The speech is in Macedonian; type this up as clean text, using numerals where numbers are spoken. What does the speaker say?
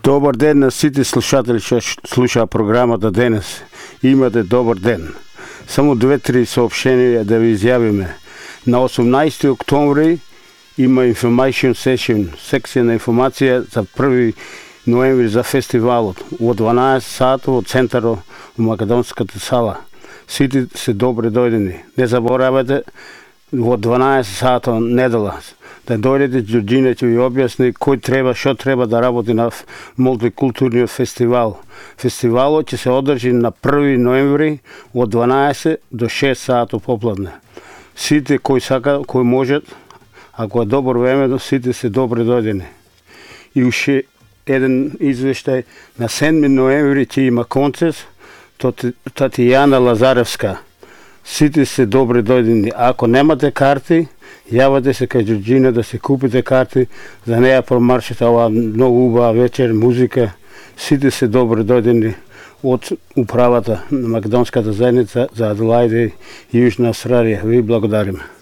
Добар ден на сите слушатели што слушаа програмата денес. Имате добар ден. Само 2-3 соопштенија да ви изјавиме. На 18 октомври има information session, секција на информација за 1 ноември за фестивалот. Од 12 сати од центарот во Македонската сала. Сите се добре дојдени. Не заборавате во 12 сати недела да дојдете, Ѓорѓина ќе ви објасни кој треба, што треба да работи на мултикултурниот фестивал. Фестивалот ќе се одржи на 1 ноември од 12 до 6 сати попладне. Сите кои сака, кои можат, ако е добро време, сите се добре дојдени. И уште еден извештај, на 7 ноември ќе има концерт Татјана Лазаревска. Сите се добре дојдени. Ако немате карти, јавате се кај Ѓорѓина да се купите карти, за неја промаршите ова многу убава вечер, музика. Сите се добре дојдени од управата на Македонската заедница за Аделајде и Јужна Австралија. Ви благодариме.